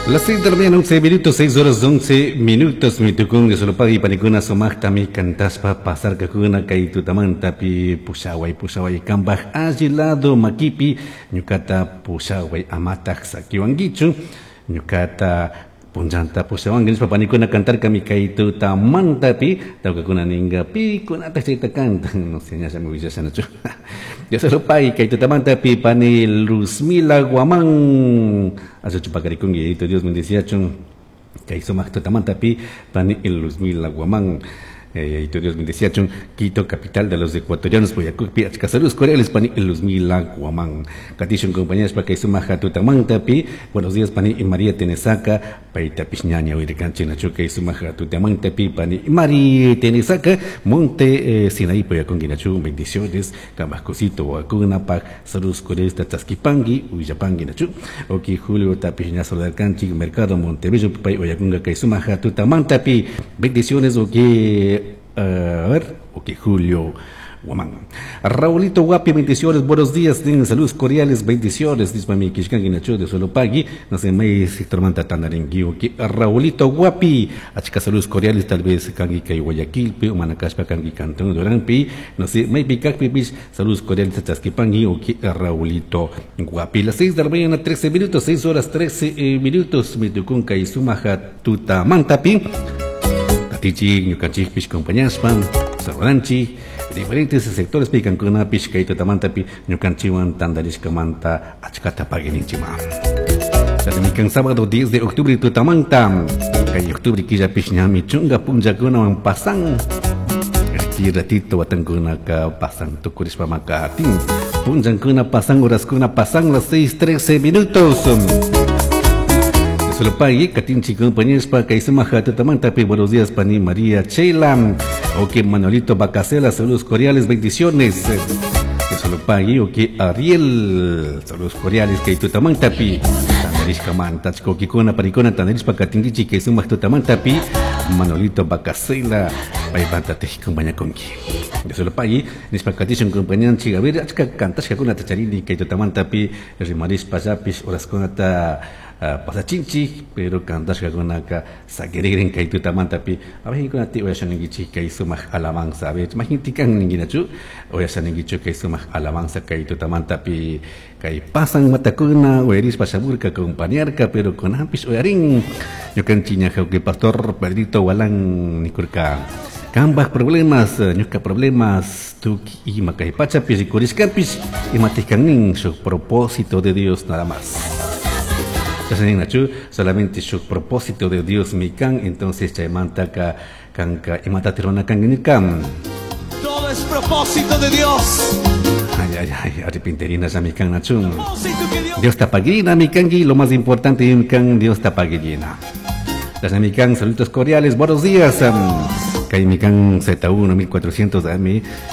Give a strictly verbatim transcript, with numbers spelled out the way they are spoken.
Las seis de la mañana, once minutos, seis horas once minutos, mitukun solopagui panikuna sumaqtami cantaspa pasarkakuna kay tutamantapi pushaway, pushaway kambaj alli lado makipi ñukata pushaway amataq sakiwankichu ñukata punllanta pushawanki nishpa panikuna cantarkami kay tutamantapi tawkakuna ninga pikunataq chayta cantan, no sé, ñallami willashanachu. Dios lo pague kay tutamantapi pani Luzmila Guamán achachu pakarikunki, yayito Dios bendiciachun kay sumaq tutamantapi pani Luzmila Guamán. eh, Dios bendeciachun, Quito, capital de los ecuatorianos, Boyacúpi, achka saludos cordiales, pani Luzmila Guamán. Katishun compañeros pa kay sumaq tutamantapi, buenos días, pani María Tenesaca, paita piñaña uirikanchi nachu kay sumaq tutamantapi, pani Mari Tenesaca, Monte eh, Sinaí, Boyacungi nachu, bendiciones, Cambascosito, Huacunapa, saludos cordiales, Tachaskipangi, Uyapangi nachu, ok, Julio Tapiña Solarcanchi, Mercado Montebello, pay Oyacunga kay sumaq tutamantapi, bendiciones, ok, a ver, ok, Julio Guamán. Raulito Guapi, bendiciones, buenos días, tienen saludos cordiales, bendiciones, dice mami Kishkangi Nacho de Solopagui, no sé, may sector manta tandaringui, ok, Raulito Guapi, achka saludos cordiales, tal vez kangi kay Guayaquilpi, Manacashpa kangi Cantón Duranpi, no sé, may pikakpi, saludos cordiales, chaskipangi, ok, Raulito Guapi. Las seis de la mañana, trece minutos, seis horas trece eh, minutos, mitukunka y sumaja tutamantapi. Tichi, ñukanchikpish compañaspa, saludanchi, diferentes sectores pikankunapish kay tutamantapi ñukanchiwan tandarishkamanta achkata paguininchima. Mikan sábado diez de octubre tutamanta, kay octubre killapish ñami chunga punllakunawan pasan. Aquí ratito watankunaka pasan tukurishpa makatin. Punllankuna pasan, horaskuna pasan las seis trece minutos. Solopagui, Katinchi compañeros pa kay sumaja tutamantapi, buenos días pani María Chela, ok Manuelito Bacacela, saludos cordiales, bendiciones. Solopagui, ok Ariel, saludos cordiales kay tutamantapi, tandarishka manta chkokikuna parikuna tandarishpa katinkichi kay sumaq tutamantapi, Manuelito Bacacela, paymanta tej compañakunki. Solopagui, nishpa katishun compañanchi, a ver, achka kantashkakuna tacharini kay tutamantapi, rimarishpa llapish horaskunata Uh, pasachinchi, pero kantashkakunaka sakirigrin kay tutamantapi abajikunati uyashaninkichik kay sumaq alabanza, a ver, majintikan ninkinachu uyashaninkichu kay sumaq alabanza kay tutamantapi kay pasan matakuna uyarishpa shamurka acompañarka, pero kunanpish uyarin ñukanchik ña pastor Pedrito Walán nikurka kambaj problemas ñuka problemas tuki ima kay pachapi rikurishkapish imatikanin shuk propósito de Dios nada más. Solamente su propósito de Dios mikan, entonces chaymantaka kanka imatatirona kanginikam. Todo es propósito de Dios. Ay, ay, ay, arrepinterina ya mikan nachun. Dios tapaguina mikangi, lo más importante mikan, Dios tapaguina. Las mikan, saludos cordiales, buenos días. Kay mikan Z uno mil cuatrocientos A M.